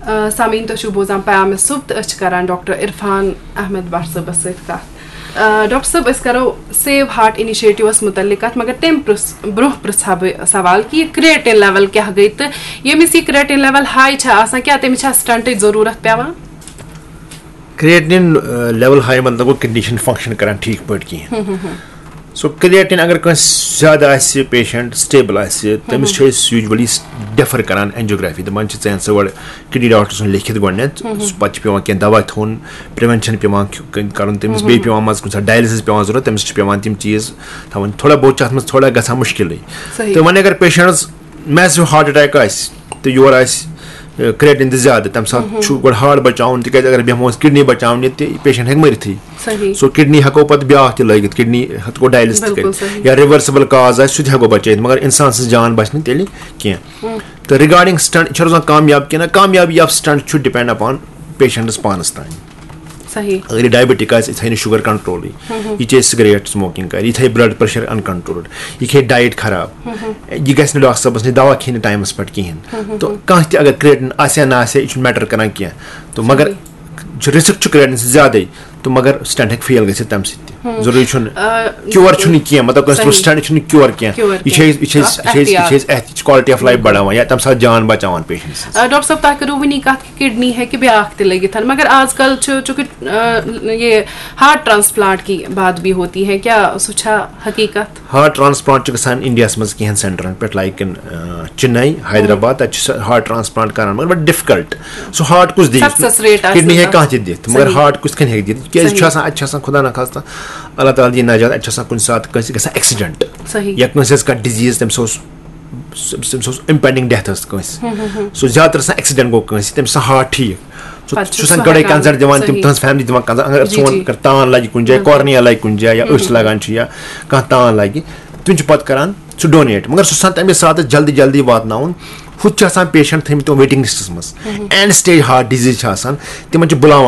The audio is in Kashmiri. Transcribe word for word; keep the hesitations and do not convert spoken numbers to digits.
آ، سامعیٖن، تُہۍ چھِو بوزان پیام صُبح تہٕ أسۍ چھِ کران ڈاکٹر عرفان احمد بٹ صٲبَس سۭتۍ کَتھ۔ آ، ڈاکٹر صٲب، أسۍ کرو Save Heart Initiative-َس مُتعلِق کَتھ، مگر تَمہِ پرٛس-، برٛونٛہہ پرٛژھٕ ہا بہٕ سوال کہِ یہِ creatinine level کیٛاہ گٔے تہٕ ییٚمِس یہِ creatinine level high چھےٚ آسان، کیٛاہ تٔمِس چھا stent-ٕچ ضروٗرت پٮ۪وان؟ Creatinine level high مطلب گوٚو kidney چھِنہٕ function کران ٹھیٖک پٲٹھۍ کِہیٖنۍ۔ So creatinine اگر کٲنٛسہِ زیادٕ آسہِ، patient stable آسہِ، تٔمِس چھِ أسۍ usually defer کران angiography، دَپان چھِ ژٕ اَن سا گۄڈٕ kidney doctor سُنٛد لیکھِتھ گۄڈٕنٮ۪تھ، پَتہٕ چھِ پٮ۪وان کینٛہہ دَوا کھیوٚن، prevention پٮ۪وان کھیو-، کَرُن تٔمِس، بیٚیہِ پٮ۪وان منٛزٕ کُنہِ ساتہٕ dialysis پٮ۪وان ضوٚرَتھ، تٔمِس چھِ پٮ۪وان تِم چیٖز تھاوٕنۍ، تھوڑا بہت چھِ اَتھ منٛز تھوڑا گژھان مُشکِلٕے۔ صحیح۔ تہٕ وۄنۍ اگر patientَس massive heart attack آسہِ تہٕ یورٕ آسہِ creatinine تہِ زیادٕ، تَمہِ ساتہٕ چھُ گۄڈٕ heart بچاوُن، تِکیٛازِ اگر بیٚہمو أسۍ kidney بچاونہِ تہِ patient ہیٚکہِ مٔرِتھٕے۔ صحیح۔ So kidney ہٮ۪کو پَتہٕ بیٛاکھ تہِ لٲگِتھ، kidney ہٮ۪کو dialysis تہِ بِلکُل کٔرِتھ صحیح۔ یا reversible cause آسہِ، سُہ تہِ ہٮ۪کو بچٲیِتھ، مگر اِنسان سٕنٛز جان بچہِ نہٕ تیٚلہِ کینٛہہ۔ تہٕ regarding stent چھِ روزان کامیاب کِنہٕ نہ، کامیابی of stent چھُ depend upon patientَس پانَس تام۔ صحیح۔ اگر یہِ diabetic آسہِ، یہِ تھایہِ نہٕ sugar control-ٕے، یہِ چیٚیہِ cigarette smoking کرِ، یہِ تھایہِ blood pressure uncontrolled، یہِ کھیٚیہِ diet خراب، یہِ گژھِ نہٕ ڈاکٹر صٲبَس نِش دوا کھیٚیہِ نہٕ ٹایمَس پٮ۪ٹھ کِہیٖنۍ۔ تہٕ کانٛہہ تہِ اگر creatinine آسہِ یا نہ آسہِ، یہِ چھُنہٕ matter کران کینٛہہ۔ تہٕ مگر چھُ risk چھُ creatinine سۭتۍ زیادَے، تہٕ مگر stent ہیٚکہِ fail گٔژھِتھ تَمہِ سۭتۍ تہِ۔ ضروٗری چھُنہٕ آ، cure چھُنہٕ کینٛہہ، مطلب کٲنٛسہِ کوٚر صحیح۔ stent چھُنہٕ cure کینٛہہ۔ Cure یہِ چھِ کینٛہہ۔ أسۍ، یہِ چھِ أسۍ، اَتھ یہِ چھِ أسۍ، یہِ چھِ احتیاط۔ أسۍ احتیاط، quality of life بڑاوان یا تَمہِ ساتہٕ جان بچاوان patient سٕنٛز۔ آ، ڈاکٹر صٲب، تۄہہِ کٔروٕ وٕنی کَتھ کہِ kidney ہیٚکہِ بیٛاکھ تہِ لٔگِتھ، مگر آز کل چھُ چونکہ، آ، یہِ heart transplant کی بات بھی ہوتی ہے، کیا سُہ چھا حقیٖقت؟ Heart transplant چھُ گژھان India-ہَس منٛز کینٛہَن centre-َن پٮ۪ٹھ، like in, آ، Chennai، حیدرآباد، تَتہِ چھِ سُہ heart transplant کران، مگر difficult۔ سُہ heart کُس دِیہِ؟ Success rate آسہِ Kidney ہیٚکہِ تَتھ۔ کانٛہہ تہِ دِتھ، مگر صحیح۔ Heart کُس کِتھ کٔنۍ ہیٚکہِ دِتھ؟ کیٛازِ یہِ چھُ صحیح۔ آسان، اَتہِ چھِ آسان خدا نخواستہ، اللہ تعالیٰ دِیِن نجات، اَتہِ چھِ آسان کُنہِ ساتہٕ کٲنٛسہِ گژھان accident۔ صحیح۔ یا کٲنٛسہِ ہٕنٛز کانٛہہ disease، تٔمِس اوس، تٔمِس اوس impending death ٲس کٲنٛسہِ۔ سُہ زیادٕ تر آسان accident گوٚو کٲنٛسہِ، تٔمِس چھُ آسان heart ٹھیٖک۔ سُہ، پَتہٕ چھُ سُہ چھُ آسان سُہ گۄڈَے ہٮ۪کان، consent دِوان، تِم صحیح۔ تٕہٕنٛز family دِوان consent، اگر جی، سون جی۔ اگر تان لگہِ کُنہِ جایہِ، cornea لگہِ کُنہِ جایہِ یا أچھ لگان چھِ یا کانٛہہ تان لگہِ، تِم چھِ پَتہٕ کران سُہ donate۔ مگر سُہ چھُ آسان تَمے ساتہٕ جلدی جلدی واتناوُن۔ ہُتھ چھِ آسان patient تھٲیمٕتۍ تِم waiting list-َس منٛز، end stage heart disease چھِ آسان، تِمن چھِ بُلاوان